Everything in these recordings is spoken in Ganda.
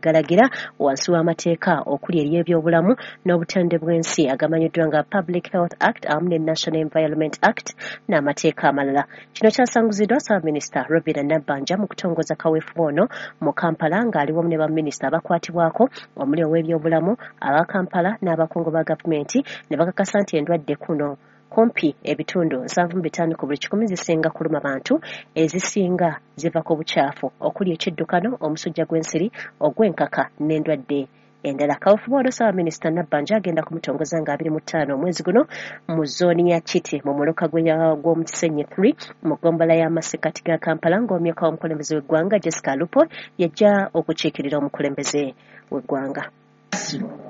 galagira wansi w'amateeka okuli ery'ebyobulamu n'obutonde bw'ensi agamanyiddwa nga Public Health Act awamu ne National Environment Act n'amateeka amalala. Kino kyasanguziddwa Ssaabaminisita Robinah Nabbanja mu kutongoza kaweefube ono mu Kampala ng'ali wamu ne baminisita abakwatibwako omuli ow'ebyobulamu, aba Kampala n'abakungu ba gavumenti ne bakakasa nti endwadde kuno kumpi ebitundu 75 ku buli kikumi zisinga kuluma bantu, ezisinga ziva ku bukyafu okuli ekiddukano, omusujja gw'ensiri, ogw'enkaka n'endwadde endala. Kaweefube ono Ssaabaminisita Nabbanja agenda kumutongoza nga 25 omwezi guno mu zooni ya Kiti mu muluka gw'omu Kisenyi 3 mu ggombolola y'amasekkati ga Kampala, ng'omyuka w'omukulembeze w'eggwanga Jessica Alupo yajja okukiikirira omukulembeze w'eggwanga.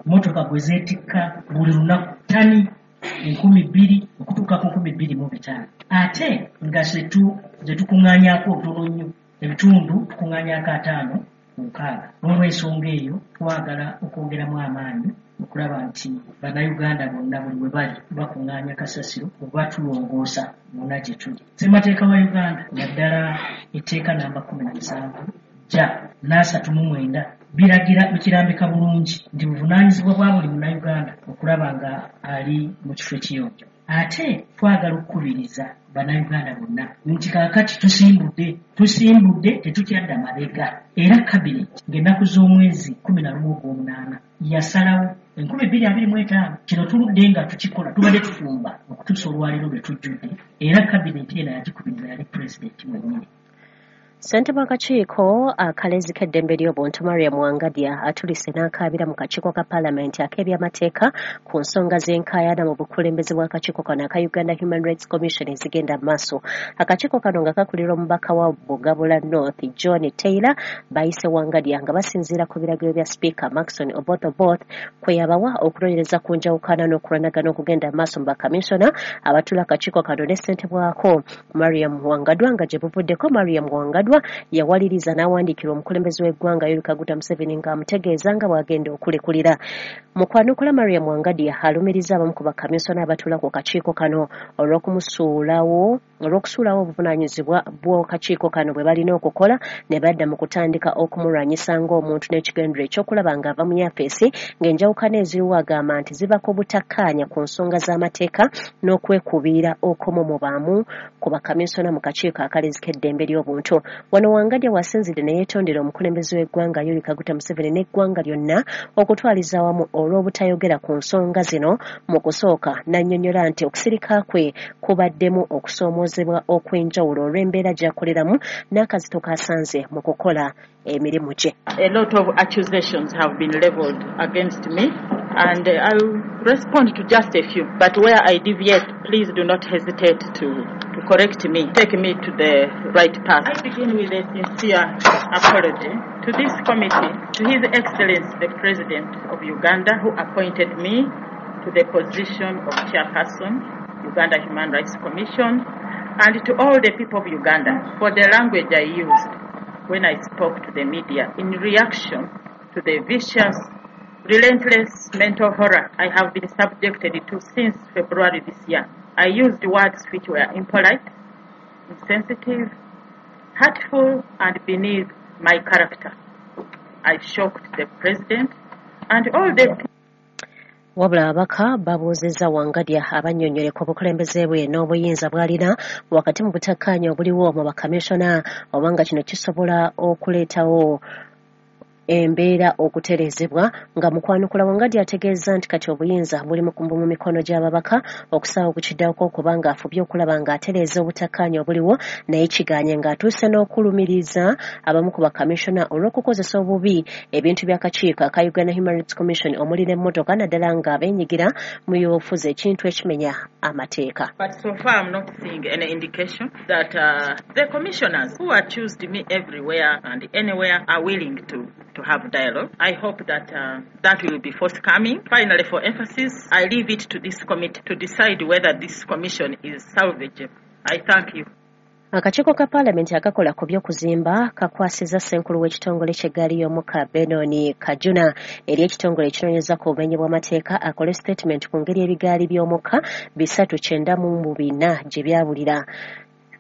Mmotoka gwe zeetikka buli lunaku ttani 2,000 okutuuka ku 2,500, ate nga zetukuŋŋaanyaako ntono nnyo, ebitundu tukuŋŋaanyaako 5 ku 6. N'olw'ensonga eyo twagala okwongeramu amaanyi okulaba nti Bannayuganda bonna buli we bali bakuŋŋaanya kasasiro oba tulongoosa wonna gye tuli. Ssemateeka wa Uganda naddala etteeka namba 17 ja 39 biragira bikirambika bulungi nti buvunaanyizibwa bwa buli Munnayuganda okulaba nga ali mu kifo ekiyonjo. Ate twagala okukubiriza Bannayuganda bonna nti kaakati tusimbudde tetukyadda mabega. Era kabineti ng'ennaku z'omwezi 11 ogw'omunaana yasalawo 2025. Kino tuludde nga tukikola, tubadde tufumba okutuusa olwaleero lwe tujjudde, era kabineti eno yagikubiriza yali pulezidenti mwennyini. Ssentebe w'akakiiko akalezi k'eddembe ly'obuntu Mariam Wangadya atulise n'akaabira mu kakiiko ka Paalamenti ak'ebyamateeka ku nsonga z'enkaayana mu bukulembeze bw'akakiiko kano aka Uganda Human Rights Commission ezigenda mu maaso. Akakiiko kano nga kakulirwa omubaka wa Bugabula North John Taylor bayise Wangadya nga basinziira ku biragiro bya Sipiika Maxon Oboth Oboth kwe yabawa okunoonyereza ku njawukana n'okulwanagana okugenda mu maaso mu bakamisona abatuula akakiiko kano ne ssentebwako Mariam Wangadwa. Nga gye buvuddeko Mariam Wangadwa yawaliriza n'awandiikira omukulembeze w'eggwanga Yoweri Kaguta Museveni ng'amutegeeza nga bw'agenda okulekulira. Mu kwanukula Mariam Wangadya alumiriza abamu ku bakamisona abatuula ku kakiiko kano olw'okumusuulawo olw'okusuulawo obuvunaanyizibwa bw'akakiiko kano bwe balina okukola ne badda mu kutandika okumulwanyisa ng'omuntu n'ekigendero ekyokulaba ng'ava mu yafeesi, ng'enjawukana eziriwo agamba nti ziva ku butakkaanya ku nsonga z'amateeka n'okwekubiira okumu mu bamu ku bakamisona mu kakiiko akalezi k'eddembe ly'obuntu. Wano Wangadya wasinzidde ne yeetondera omukulembeze w'eggwanga Yoweri Kaguta Museveni n'eggwanga lyonna okutwaliza awamu olw'obutayogera ku nsonga zino mu kusooka, n'annyonnyola nti okusirika kwe kubaddemu okusoomoozebwa okw'enjawulo olw'embeera gy'akoleramu n'akazito k'asanze mu kukola emirimu gye. A lot of accusations have been leveled against me, and I'll respond to just a few. But where I deviate, please do not hesitate to correct me, take me to the right path. I begin with a sincere apology to this committee, to His Excellency the President of Uganda, who appointed me to the position of Chairperson, Uganda Human Rights Commission, and to all the people of Uganda for the language I used when I spoke to the media in reaction to the vicious, relentless mental horror I have been subjected to since February this year. I used words which were impolite, insensitive, hurtful, and beneath my character. I shocked the president and all the Wabula ababaka babuuzizza Wangadya abannyonnyole ku bukulembeze bwe n'obuyinza bw'alina wakati mu butakkaanya obuliwo mu bakamisona, oba nga kino kisobola okuleetawo embeera okutereezebwa. Nga mu kwanukula Wangadya ategeeza nti kati obuyinza buli mu mikono gy'ababaka okusaawa okukiddako kubanga afubye okulaba ng'atereeza obutakkaanya obuliwo, naye kiganye ng'atuuse n'okulumiriza abamu ku bakamisona olw'okukozesa obubi ebintu by'akakiiko aka Uganda Human Rights Commission omuli n'emmotoka, naddala nga beenyigira mu byobufuzi, ekintu ekimenya amateeka. But so far I'm not seeing any indication that the commissioners who accused me everywhere and anywhere are willing to have dialogue. I hope that that will be forthcoming. Finally, for emphasis, I leave it to this committee to decide whether this commission is salvageable. I thank you. Akakiiko ka Paalamenti akakola ku by'okuzimba kakwasizza ssenkulu w'ekitongole ky'eggaali y'omukka Benon Kajuna eri ekitongole ekinoonyereza ku bumenyi bw'amateeka akole sitatimenti ku ngeri ebigaali by'omukka 394 gye byabulira.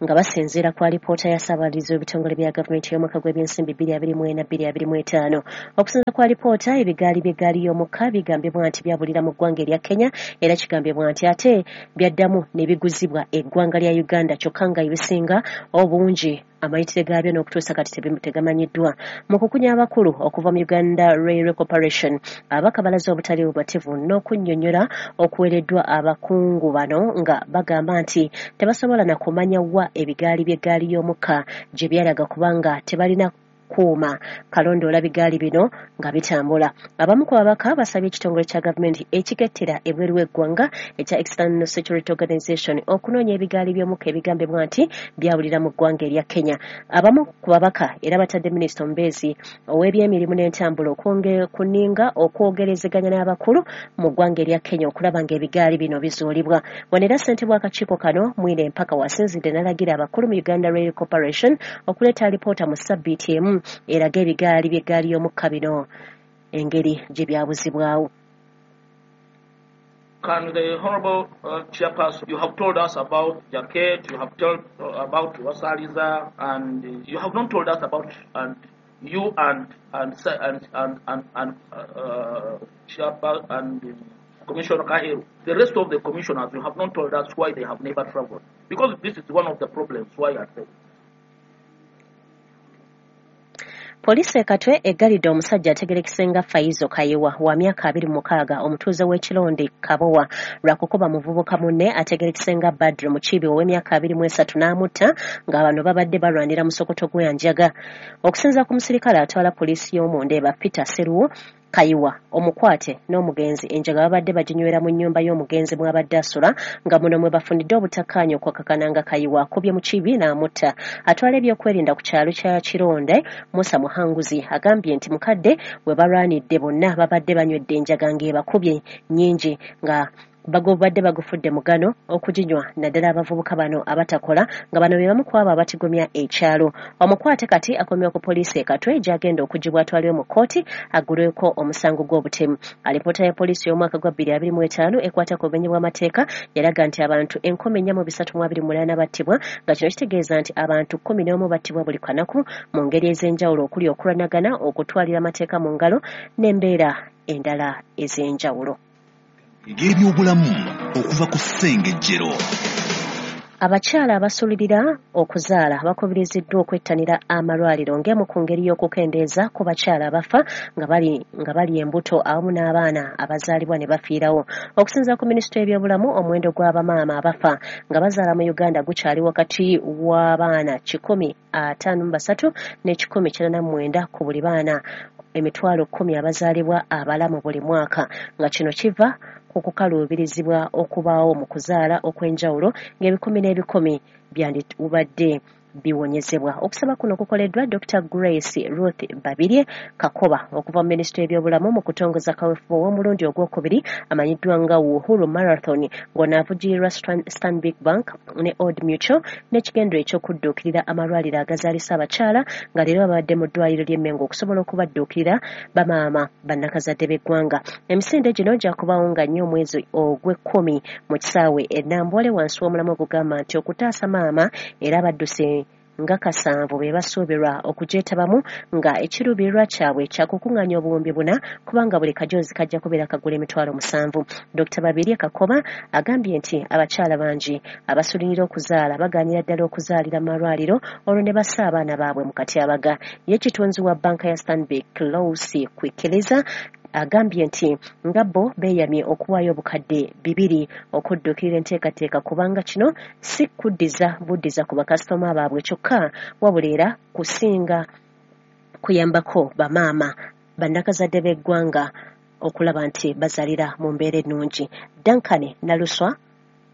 nga basinziira ku alipoota ya Ssaababalirizi w'ebitongole bya gavumenti y'omwaka gw'ebyensimbi 2024-2025. Okusinziira ku alipoota, ebigaali by'eggaali y'omukka bigambibwa nti byabulira mu ggwanga erya Kenya, era kigambibwa nti ate byaddamu ne biguzibwa eggwanga lya Uganda, kyokka nga ebisinga obungi amayitire gaabyo n'okutuusa kati tegamanyiddwa. Mu kukunya abakulu okuva mu Uganda Railway Corporation, ababaka balaze obutali bumativu n'okunnyonnyola okuweereddwa abakungu bano, nga bagamba nti tebasobola na kumanya wa ebigaali by'eggaali y'omukka gye byalaga kubanga tebalina kuuma kalondoola bigaali bino nga bitambula. Abamu ku babaka basabye ekitongole kya gavumenti ekikettera ebweru w'eggwanga ekya External Security Organization okunoonya ebigaali by'omukka ebigambibwa nti byawulira mu ggwanga erya Kenya. Abamu ku babaka era batadde minisita omubeezi ow'ebyemirimu n'entambula kuninga okwogerezeganya n'abakulu mu ggwanga erya Kenya okulaba ng'ebigaali bino bizuulibwa. Wano era ssentebe w'akakiiko kano Mwine Mpaka wasinzidde n'alagira abakulu mu Uganda Rail Corporation okuleeta alipoota mu ssabbiiti emu eraga ebigaali by'eggaali y'omukka bino engeri gye byabuzibwawo. Can the Honorable Chairperson, you have told us about Jacket, you have told about Wasaliza, and you have not told us about and you and Chairperson and Commissioner Kaheru. The rest of the commissioners, you have not told us why they have never traveled, because this is one of the problems why I said. Poliisi e Katwe eggalidde omusajja ategerekese nga Faizo Kayiwa wa myaka 26, omutuuze w'Ekironde Kabowa, lwakukuba muvubuka munne ategerekese nga Badru Mukiibi ow'emyaka 23 n'amutta, nga bano babadde balwanira musokoto gw'enjaga. Okusinziira ku musirikale atwala poliisi y'omu Ndeeba Peter Seruwo, Kayiwa omukwate n'omugenzi enjaga babadde baginywera mu nnyumba y'omugenzi mw'abadde asula, nga muno mwe bafunidde obutakkaanya okwakakana nga Kayiwa akubye Mukiibi n'amutta. Atwala ebyokwerinda ku kyalo kya Kironde Musa Muhanguzi agambye nti mukadde we balwanidde bonna babadde banywedde enjaga ng'ebakubye nnyingi, nga bagobadde bagufudde mugano okuginywa, naddala abavubuka bano abatakola, nga bano be bamu ku abo abatigomya ekyalo. Omukwate kati akomyewo ku poliisi e Katwe gy'agenda okugibwa atwalibwe mu kkooti aggulweko omusango gw'obutemu. Alipoota ya poliisi y'omwaka gwa 2025 ekwata ku bumenyi bw'amateeka yalaga nti abantu 4328 battibwa, nga kino kitegeeza nti abantu 11 battibwa buli kanaku mu ngeri ez'enjawulo okuli okulwanagana, okutwalira amateeka mu ngalo n'embeera endala ez'enjawulo. Ebyobulamu okuva ku Ssengejjero. Abakyala abasulirira okuzaala bakubiriziddwa okwettanira amalwaliro ng'emu ku ngeri y'okukendeeza ku bakyala abafa nga bali embuto awamu n'abaana abazaalibwa ne bafiirawo. Okusinziira ku minisitule y'ebyobulamu, omuwendo gw'abamaama abafa nga bazaala mu Uganda gukyali wakati w'abaana 153 ne 189 ku buli baana 10,000 abazaalibwa abalamu buli mwaka, nga kino kiva ku kukaluubirizibwa okubaawo mu kuzaala okw'enjawulo ng'ebikumi n'ebikumi byandibadde biwonyezebwa. Okusaba kuno kukoleddwa Dr. Grace Ruth Babirye Kakoba okuva mu minisitule y'ebyobulamu mu kutongoza kaweefube ow'omulundi ogwokubiri amanyiddwa nga Uhuru Marathon, ng'ono Stanbic Bank ne Old Mutual n'ekigendero eky'okudduukirira amalwaliro agazaalisa abakyala, nga leero babadde mu ddwaliro ly'e Mengo okusobola okubadduukirira bamaama bannakazadde b'eggwanga. Emisinde gino gyakubaawo nga nnyo omwezi ogw'ekkumi mu kisaawe e Namboole wansi w'omulamwa ogugamba nti okutaasa maama, era abadduse nga 7 be basuubirwa okugyetabamu, nga ekiruubirirwa kyabwe kyakukuŋŋaanya obuwumbi 4, kubanga buli kajoozi kajja kubeera kagula 7,000. Dr. Babirye Kakoba agambye nti abakyala bangi abasulirira okuzaala bagaanira ddala okuzaalira mu malwaliro olwo ne bassa abaana baabwe mu katyabaga. Ye kitunzi wa bbanka ya Stanbic Lousi Kwikiriza agambye nti nga bo beeyamye okuwaayo obukadde 2 okudduukirira enteekateeka, kubanga kino si kuddiza buddiza ku bakasitoma baabwe kyokka, wabula era kusinga kuyambako bamaama bannakazadde b'eggwanga okulaba nti bazaalira mu mbeera ennungi. Duncan Naluswa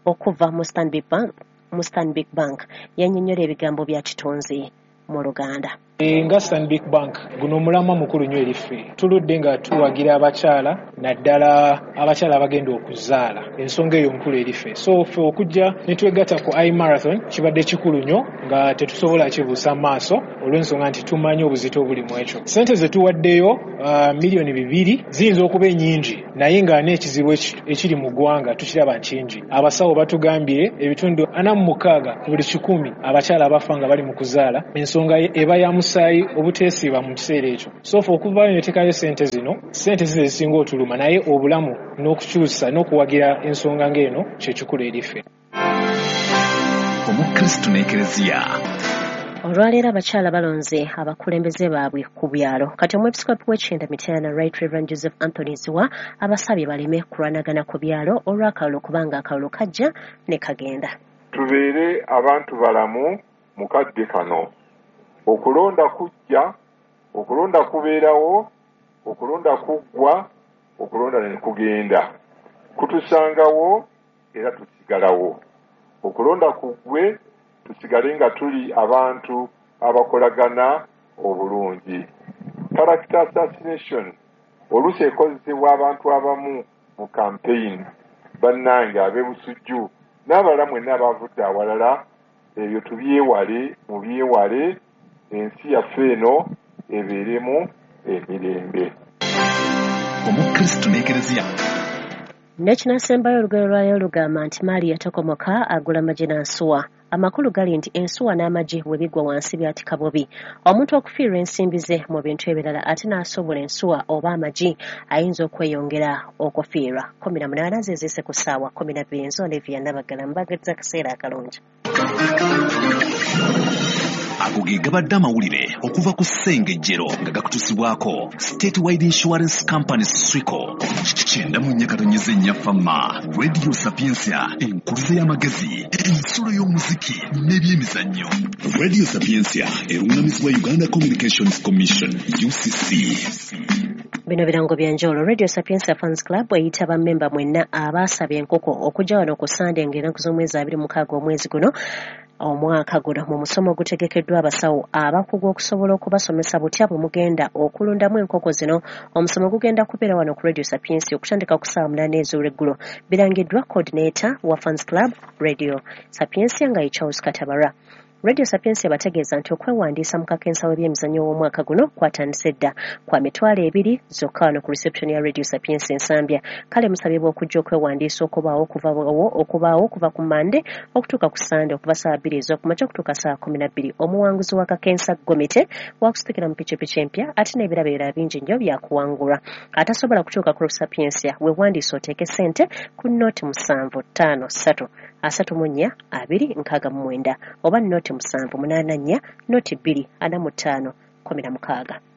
okuva mu Stanbic Bank yannyonnyola ebigambo bya kitunzi mu Luganda. Nga Stanbic Bank, guno omulamwa mukulu nnyo eri ffe. Tuludde nga tuwagira abakyala, naddala abakyala abagenda okuzaala. Ensonga eyo nkulu eri ffe. So ffe okujja ne twegatta ku iMarathon kibadde kikulu nnyo, nga tetusobola kibuusa maaso olw'ensonga nti tumanyi obuzito obuli mu ekyo. Ssente ze tuwaddeyo 2 miliyoni ziyinza okuba ennyingi, naye nga n'ekizibu ekiri mu ggwanga tukiraba nkingi. Abasawo batugambye 46% ku buli 100 abakyala abafa nga bali mu kuzaala, ensonga eba ya musaayi obuteesiiba mu kiseera ekyo. So ffe okuvaayo ne teekayo ssente zino, ssente zizo ezisinga otuluma, naye obulamu n'okukyusa n'okuwagira ensonga ng'eno kyekikulu eri ffe. Omukristu n'Ekereziya. Olwaleero abakyala balonze abakulembeze baabwe ku byalo. Kati omwepiskopi w'ekyenda Mityana, Right Reverend Joseph Anthony Ziwa, abasabye baleme kulwanagana ku byalo olw'akalulu, kubanga akalulu kajja ne kagenda. Tubeere abantu balamu mu kadde kano. Okulonda kujja, okulonda kubeerawo, okulonda kuggwa, okulonda ne kugenda, kutusangawo era tusigalawo. Okulonda kuggwe, tusigale nga tuli abantu abakolagana obulungi. Character assassination oluusi ekozesebwa abantu abamu mu campaign. Bannange ab'e Busujju n'abalala mwenna abavudde awalala, ebyo tubyewale, mubyewale, ensi yaffe eno ebeeremu emirembe. Omukristu n'Ekereziya. N'ekinasembayo, olugero lwayo lugamba nti maali yatokomoka agula magi n'ansuwa. Amakulu gali nti ensuwa n'amagi bwe bigwa wansi byatika bubi. Omuntu okufiirwa ensimbi ze mu bintu ebirala ate n'asobola ensuwa oba amagi, ayinza okweyongera okufiirwa. 18 zeziise ku ssaawa 12. Nze Olivia Nabagala, mbagaliza akaseera akalungi. Ago ge gabadde amawulire okuva ku Ssengejjero, nga gakutusibwako State Wide Insurance Company, SWICO. 94.4 Fama Radio Sapiensia, enkuluze y'amagezi, ensulo y'omuziki n'ebyemizannyo. Radio Sapiensia eruŋŋamizibwa Uganda Communications Commission, UCC. Bino birango bya njawulo. Radio Sapiensia Fans Club eyita bammemba mwenna abaasaba enkoko okujja wano ku Sande ng'ennaku z'omwezi 26 omwezi guno, omwaka guno, mu musomo ogutegekeddwa abasawo abakugu okusobola okubasomesa butya bwe mugenda okulundamu enkoko zino. Omusomo gugenda kubeera wano ku Radio Sapiensia okutandika ku ssaawa 8 ez'olweggulo. Birangiddwa coordinator wa Fans Club Radio Sapiensia nga ye Charles Katabara. Radio Sapiensia bategeeza nti okwewandiisa mu kakensa w'ebyemizannyo w'omwaka guno kwatandise dda, kwa 20,000 zokka, wano ku reception ya Radio Sapiensia Ensambya. Kale musabibwa okujja okwewandiisa okubaawo okuva ku Mande okutuuka ku Sande, okuva saa 2 ez'okumakya okutuuka saa 12. Omuwanguzi wa kakensa gomite wakusitukira mu pikipiki empya, ate n'ebirabo ebirala bingi nnyo byakuwangulwa. Atasobola kutuuka ku Sapiensia, weewandiisa oteeke ssente ku noti 753 34 269 oba noti 784 0 2 45 16.